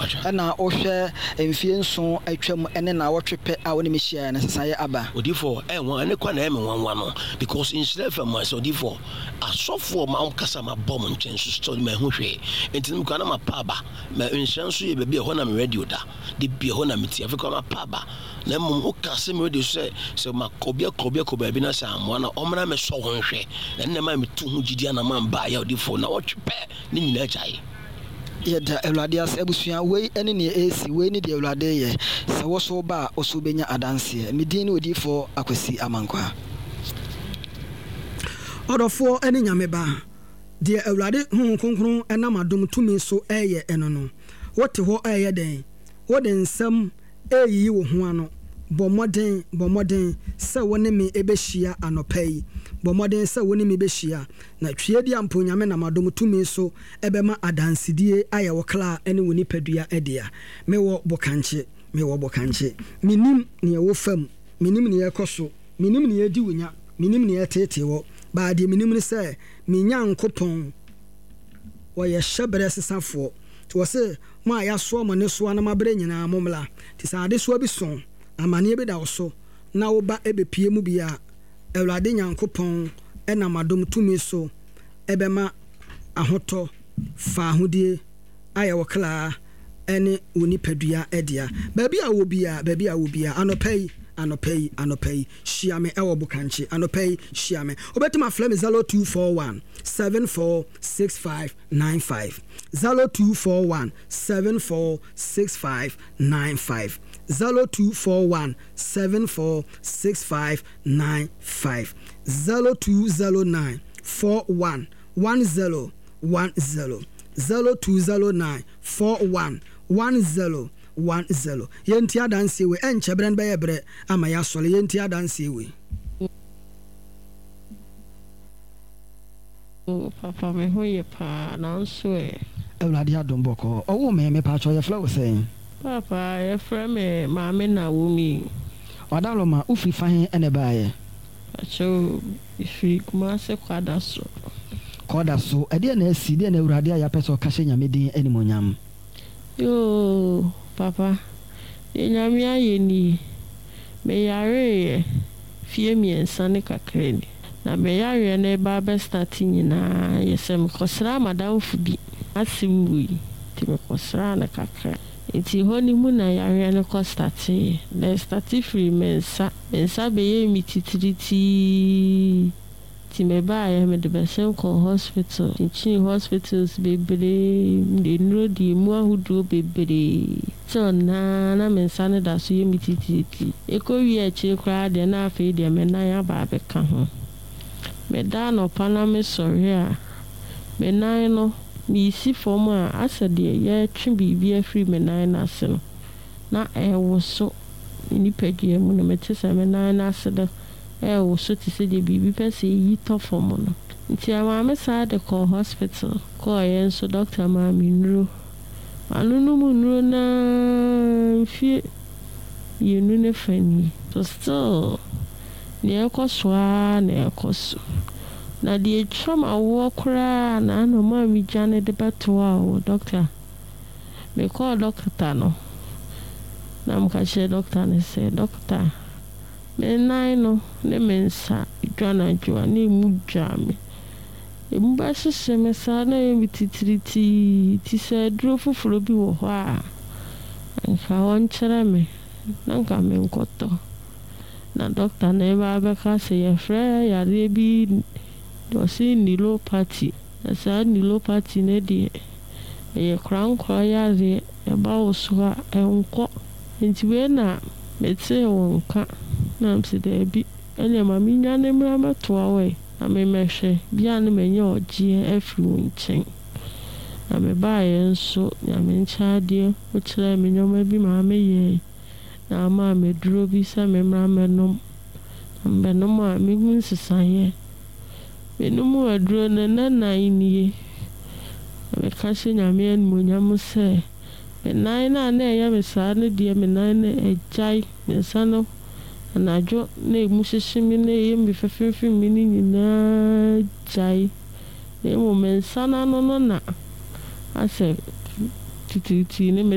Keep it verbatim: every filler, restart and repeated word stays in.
Ɛna wohwɛ mfie nson atwam ne nnawɔtwe pɛ a wo ne me hyiaeɛ no, nsesaeɛ aba. Odiyifoɔ, ɛyɛ nwanwa, ɛne kwan na ɛyɛ me nwanwa no, because nhyira F M sɛ odiyifoɔ, asɔfoɔ ma wɔn kasa ma bɔ mo nkyɛn so still ma ɛho hwee. Nti no mekɔ na ma pa aba. Ma nhyira nso yɛ baabi a ɛhɔ na me radio da. De bi ɛhɔ na me tie. Afei kɔ ma pa aba. Na mmom woka sɛ me radio so sɛ, sɛ ma kɔ obi akɔ obi akɔ baabi na sɛ amoa na ɔmmra me sɔ ho nhwɛ. Na ɛnna ma metu ho gyidi ana ma mba yɛ odiyifoɔ na wɔtwe pɛ ne nyinaa gyae. Yɛda Awurade ase. Abusua, wei ne nea ɛresi, wei ne deɛ Awurade yɛ. Sɛ wo so ba a, wo so wobɛnya adanseɛ. Me din ne Odiyifoɔ Akwasi Amankwaa. Ɔdɔfoɔ ne Nyame ba, deɛ Awurade Honhom Kronkron nam adom tumi so reyɛ ɛno no, wote hɔ reyɛ dɛn? Wode nsɛm reyiyi wo ho ano. Bɔ mmɔden, bɔ mmɔden sɛ wo ne me bɛhyia anɔpa yi. Bɔ mmɔden sɛ wo ne me bɛhyia. Na Tweaduampɔ Nyame nam adom tumi so ɛbɛma adansedie ayɛ wo kra ne wo nipadua dea. Mewɔ bokankye, mewɔ bokankye. Menim nea ɛwɔ fam, menim nea ɛkɔ so, menim nea ɛdi wo nya, menim nea ɛteetee wɔ. Baa deɛ menim ne sɛ, me Nyankopɔn, wɔyɛ hyɛberɛ sesafoɔ. Nti wɔ se, mo a yɛasoa mo nnesoa na moabrɛ nyinaa, mommra. Nti sɛ adesoa bi so, amanneɛ bi da wo so, na wo ba ɛbɛpue mu bi a, Awurade Nyankopɔn ɛnam adom tumi so ɛbɛma ahotɔ, faahodie ayɛ wo kra ɛne wo nipadua ɛdea. Baabi a wɔ bia, baabi a wɔ bia, anɔpa yi, anɔpa yi, anɔpa yi, hyia me ɛwɔ Bokankye. Anɔpa yi, hyia me. Wobɛtumi afrɛ me zero two four one seven four six five nine five. zero two four one seven four six five nine five. zero two four one seven four six five nine five. zero two zero nine four one one zero one zero. zero two zero nine four one one zero one zero. Yɛnti adanseɛ wei, ɛnkyɛ berɛ no bɛyɛ berɛ ama yɛasɔre. Yɛnti adanseɛ wei. O papa, me ho yɛ paa, nanso ɛ. Awurade adom bɔkɔɔ. Ɔwo me, mepatwɔ yɛfrɛ wo sɛn? Papa, yɛfrɛ me Maame Naomi. Ɔdaloma, wofiri fa he ɛna ɛbaeɛ? Pakyɛw, mefiri Kumase Kwadaso. Kwadaso, ɛdeɛ na asi, deɛ na Awurade a yɛapɛ sɛ ɔka hyɛ Nyame din animuonyam? Yoo, papa, deɛ Nyame ayɛ nie. Meyareeɛ fie mmiɛnsa ne kakra ni. Na meyareɛ no ɛba abɛstarte nyinaa yɛ sɛ mekɔsraa madamfo bi ase wui, nti mekɔsraa no kakra. Nti hɔ no mu na yareɛ no kɔstarteeɛ. Na ɛstarte firi me nsa. Me nsa bɛyɛɛ me titiritii. Nti mebaeɛ, mede bɛsen kɔɔ hospital. Kyinkyini hospitals bebree, mede nnuro di emu ahodoɔ bebree. Till naa na me nsa no da so yɛ me titiritii. Ɛkɔwie akyire koraa deɛ na afei deɛ me nan aba abɛka ho. Meda anɔpa na mesɔre a, me nan no, meesi fam a asɛ deɛ yɛretwe biribi afiri me nan no ase no, na ɛwoso me nipadua mu no, mete sɛ me nan no ase no ɛwoso te sɛ deɛ biribi pɛ sɛ ɛyi tɔ fam no. Nti ɛmaa me saa de kɔɔ hospital. Kɔɔeɛ nso doctor maa me nnuro. Manonom nnuro naa mfie mmienu ne fa nie. So still, nea ɛkɔ so ara na ɛkɔ so. Na deɛ etwa m'awoɔ koraa na ano maa me dwane de bɛtoa wo doctor. Mekɔɔ doctor no, na meka kyerɛɛ doctor no sɛ, doctor, me nan no ne me nsa dwa anadwo a na emu dwa me. Emu bɛhyehyɛ me saa na ɛyɛ me titiritii ti sɛ aduro foforɔ bi wɔ hɔ a, anka wɔnkyerɛ me na anka menkɔtɔ. Na doctor no ɛba abɛka sɛ yɛfrɛ yareɛ bi ɔse neuropathy. Na saa neuropathy no deɛ, ɛyɛ korankora yareɛ, ɛba wo so a ɛnkɔ. Nti wei na metee wo nka na mese daabi, ɛnneɛ ma mennwane mmra mmɛtoa wo ɛ, na memmɛhwɛ bia na manya ɔgyeɛ afiri wo nkyɛn. Na mebaeɛ nso, Nyame nkyɛn adeɛ, wokyerɛɛ me nneɛma bi maa meyɛe. Na ama me aduro bi sɛ memmra mmɛnom. Na mebɛnom a, mehu nsesaeɛ. Menom aduro no nna nnan nie. Na meka hyɛ Nyame animuonyam sɛ, me nan no a na ɛyɛ me saa no deɛ, me nan no agyae. Me nsa no anadwo na emu hyehye me na ɛyɛ me fɛfɛɛfɛ me no nyinaa gyae. Na mmom me nsa no ano no na asɛ titiritii ne me